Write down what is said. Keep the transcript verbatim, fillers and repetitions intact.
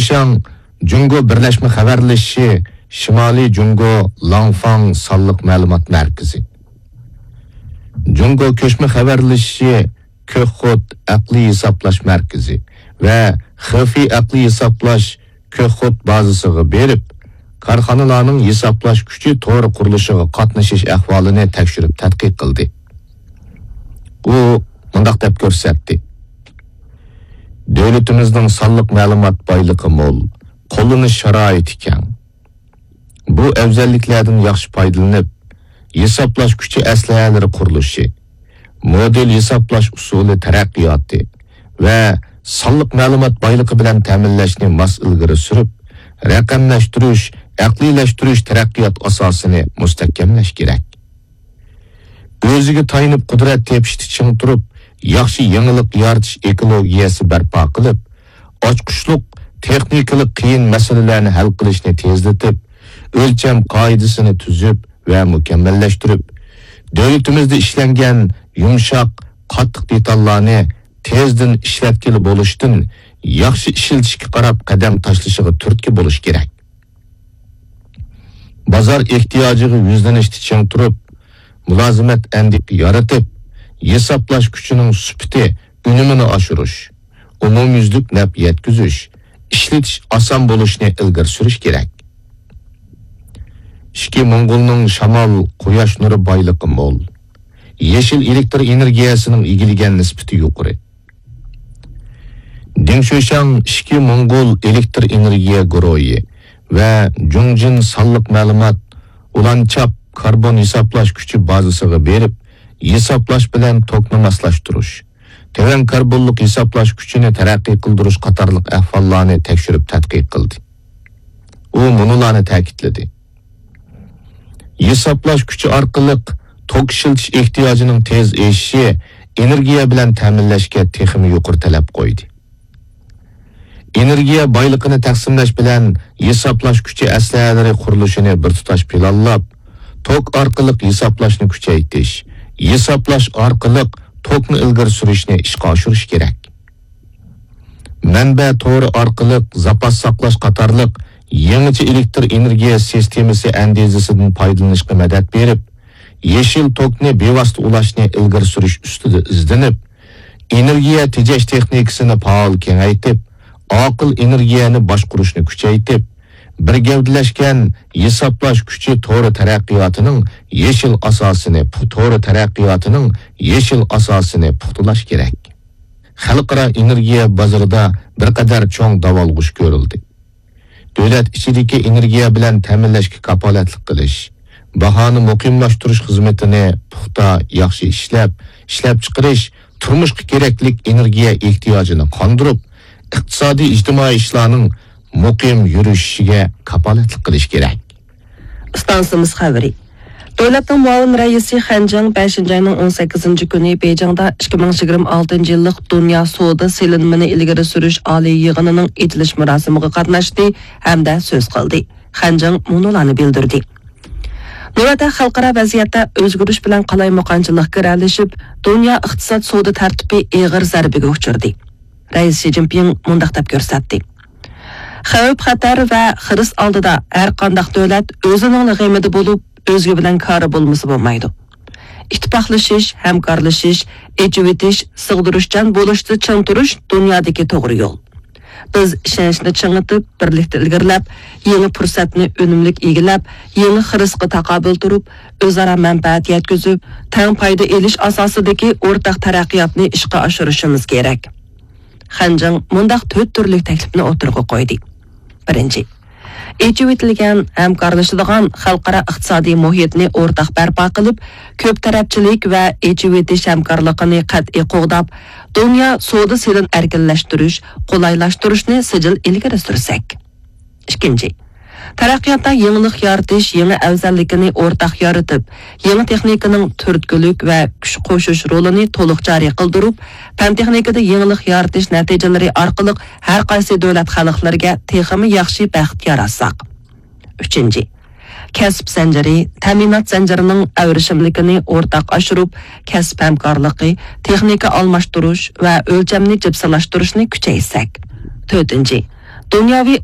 شۇشاڭ جۇڭگو بىرلەشمە خەۋەرلىشىشى شىمالىي جۇڭگو لاڭفاڭ سانلىق مەلۇمات مەركىزى، جۇڭگو كۆچمە خەۋەرلىشىشى كۆكخوت ئەقلىي ھېسابلاش مەركىزى ۋە خېفېي ئەقلىي ھېسابلاش كۆكخوت بازىسىغا بېرىپ، كارخانىلارنىڭ ھېسابلاش كۈچى تورى قۇرۇلۇشىغا قاتنىشىش ئەھۋالىنى تەكشۈرۈپ تەتقىق قىلدى. ئۇ مۇنداق دەپ كۆرسەتتى: دۆلىتىمىزنىڭ سانلىق مەلۇمات بايلىقى مول، قوللىنىش شارائىتى كەڭ. بۇ ئەۋزەللىكلەردىن ياخشى پايدىلىنىپ، ھېسابلاش كۈچى ئەسلىھەلىرى قۇرۇلۇشى، مودېل ھېسابلاش ئۇسۇلى تەرەققىياتى ۋە سانلىق مەلۇمات بايلىقى بىلەن تەمىنلەشنى ماس ئىلگىرى سۈرۈپ، رەقەملەشتۈرۈش، ئەقلىيلەشتۈرۈش تەرەققىيات ئاساسىنى مۇستەھكەملەش كېرەك. ئۆزىگە تايىنىپ قۇدرەت تېپىشتا چىڭ تۇرۇپ، ياخشى يېڭىلىق يارىتىش ئېكولوگىيەسى بەرپا قىلىپ، ئاچقۇچلۇق تېخنىكىلىق قىيىن مەسىلىلەرنى ھەل قىلىشنى تېزلىتىپ، ئۆلچەم قائىدىسىنى تۈزۈپ ۋە مۇكەممەللەشتۈرۈپ، دۆلىتىمىزدە ئىشلەنگەن يۇمشاق، قاتتىق دېتاللارنى تېزدىن ئىشلەتكىلى بولۇشتىن ياخشى ئىشلىتىشكە قاراپ قەدەم تاشلىشىغا تۈرتكە بولۇش كېرەك. بازار ئېھتىياجىغا يۈزلىنىشتە چىڭ تۇرۇپ، مۇلازىمەت ئەندىكە يارىتىپ، ھېسابلاش كۈچىنىڭ سۈپىتى، ئۈنۈمىنى ئاشۇرۇش، ئومۇميۈزلۈك نەپ يەتكۈزۈش، ئىشلىتىش ئاسان بولۇشنى ئىلگىرى سۈرۈش كېرەك. ئىچكى موڭغۇلنىڭ شامال، قۇياش نۇرى بايلىقى مول. يېشىل ئېلېكتر ئېنېرگىيەسىنىڭ ئىگىلىگەن نىسبىتى يۇقىرى. دىڭ شۆشياڭ ئىچكى موڭغۇل ئېلېكتر ئېنېرگىيە گۇرۇھى ۋە جۇڭجىن سانلىق مەلۇمات ئۇلانچاپ كاربون ھېسابلاش كۈچى بازىسىغا بېرىپ، ھېسابلاش بىلەن توكنى ماسلاشتۇرۇش، تۆۋەن كاربونلۇق ھېسابلاش كۈچىنى تەرەققىي قىلدۇرۇش قاتارلىق ئەھۋاللارنى تەكشۈرۈپ تەتقىق قىلدى. ئۇ مۇنۇلارنى تەكىتلىدى: ھېسابلاش كۈچى ئارقىلىق توك ئىشلىتىش ئېھتىياجىنىڭ تېز ئېشىشى ئېنېرگىيە بىلەن تەمىنلەشكە تېخىمۇ يۇقىرى تەلەپ قويدى. ئېنېرگىيە بايلىقىنى تەقسىملەش بىلەن ھېسابلاش كۈچى ئەسلىھەلىرى قۇرۇلۇشىنى بىر تۇتاش پىلانلاپ، توك ئارقىلىق ھېسابلاشنى كۈچەيتىش، ھېسابلاش ئارقىلىق توكنى ئىلگىرى سۈرۈشنى ئىشقا ئاشۇرۇش كېرەك. مەنبە تورى ئارقىلىق زاپاس ساقلاش قاتارلىق يېڭىچە ئېلېكتر ئېنېرگىيە سىستېمىسى ئەندىزىسىدىن پايدىلىنىشقا مەدەت بېرىپ، يېشىل توكنى بىۋاسىتە ئۇلاشنى ئىلگىرى سۈرۈش ئۈستىدە ئىزدىنىپ، ئېنېرگىيە تېجەش تېخنىكىسىنى پائال كېڭەيتىپ، ئاقىل ئېنېرگىيەنى باشقۇرۇشنى كۈچەيتىپ، بىر گەۋدىلەشكەن ھېسابلاش كۈچى تورى تەرەققىياتىنىڭ يېشىل ئاساسىنى، تورى تەرەققىياتىنىڭ يېشىل ئاساسىنى پۇختىلاش كېرەك. خەلقئارا ئېنېرگىيە بازىرىدا بىر قەدەر چوڭ داۋالغۇش كۆرۈلدى. دۆلەت ئىچىدىكى ئېنېرگىيە بىلەن تەمىنلەشكە كاپالەتلىك قىلىش، باھانى مۇقىملاشتۇرۇش خىزمىتىنى پۇختا، ياخشى ئىشلەپ، ئىشلەپچىقىرىش، تۇرمۇشقا كېرەكلىك ئېنېرگىيە ئېھتىياجىنى قاندۇرۇپ، ئىقتىسادىي، ئىجتىمائىي ئىشلارنىڭ مۇقىم يۈرۈشۈشىگە كاپالەتلىك قىلىش كېرەك. ئىستانسىمىز خەۋىرى. دۆلەتنىڭ مۇئاۋىن رەئىسى خەن جىڭ بەشىنچى ئاينىڭ ئون سەككىزىنچى كۈنى بېيجىڭدا ئىككى مىڭ يىگىرمە ئالتىنچى يىللىق دۇنيا سودا سېلىنمىنى ئىلگىرى سۈرۈش ئالىي يىغىنىنىڭ ئېچىلىش مۇراسىمىغا قاتناشتى ھەمدە سۆز قىلدى. خەن جىڭ مۇنۇلارنى بىلدۈردى: نۆۋەتتە خەلقئارا ۋەزىيەتتە ئۆزگىرىش بىلەن قالايمىقانچىلىق گىرەلىشىپ، دۇنيا ئىقتىساد سودا تەرتىپى ئېغىر زەربىگە ئۇچرىدى. رەئىس شى جىنپىڭ مۇنداق دەپ كۆرسەتتى: خەۋپ-خەتەر ۋە خىرىس ئالدىدا ھەر قانداق دۆلەت ئۆزىنىڭلا غېمىدە بولۇپ، ئۆزگە بىلەن كارى بولمىسا بولمايدۇ. ئىتتىپاقلىشىش، ھەمكارلىشىش، ئېچىۋېتىش، سىغدۇرۇشچان بولۇشتا چىڭ تۇرۇش دۇنيادىكى توغرا يول. بىز ئىشەنچنى چىڭىتىپ، بىرلىكتە ئىلگىرىلەپ، يېڭى پۇرسەتنى ئۈنۈملۈك ئىگىلەپ، يېڭى خىرىسقا تاقابىل تۇرۇپ، ئۆزئارا مەنپەئەت يەتكۈزۈپ، تەڭ پايدا ئېلىش ئاساسىدىكى ئورتاق تەرەققىياتنى ئىشقا ئاشۇرۇشىمىز كېرەك. خەن جىڭ مۇنداق تۆت تۈرلۈك تەكلىپنى ئوتتۇرىغا قويدى. بىرىنچى، ئېچىۋېتىلگەن ھەمكارلىشىدىغان خەلقئارا ئىقتىسادىي مۇھىتنى ئورتاق بەرپا قىلىپ، كۆپ تەرەپچىلىك ۋە ئېچىۋېتىش ھەمكارلىقىنى قەتئىي قوغداپ، دۇنيا سودا سېلىن ئەركىنلەشتۈرۈش، قولايلاشتۇرۇشنى سىجىل ئىلگىرى سۈرسەك. ئىككىنچى، تەرەققىياتتا يېڭىلىق يارىتىش يېڭى ئەۋزەللىكىنى ئورتاق يارىتىپ، يېڭى تېخنىكىنىڭ تۈرتكىلىك ۋە كۈچ قوشۇش رولىنى تولۇق جارى قىلدۇرۇپ، پەن-تېخنىكىدا يېڭىلىق يارىتىش نەتىجىلىرى ئارقىلىق ھەر قايسى دۆلەت خەلقلىرىگە تېخىمۇ ياخشى بەخت ياراتساق. ئۈچىنچى، كەسىپ زەنجىرى، تەمىنات زەنجىرىنىڭ ئەۋرىشىملىكىنى ئورتاق ئاشۇرۇپ، كەسىپ ھەمكارلىقى، تېخنىكا ئالماشتۇرۇش ۋە ئۆلچەمنى جىپسىلاشتۇرۇشنى كۈچەيتسەك. تۆتىنچى، دۇنياۋى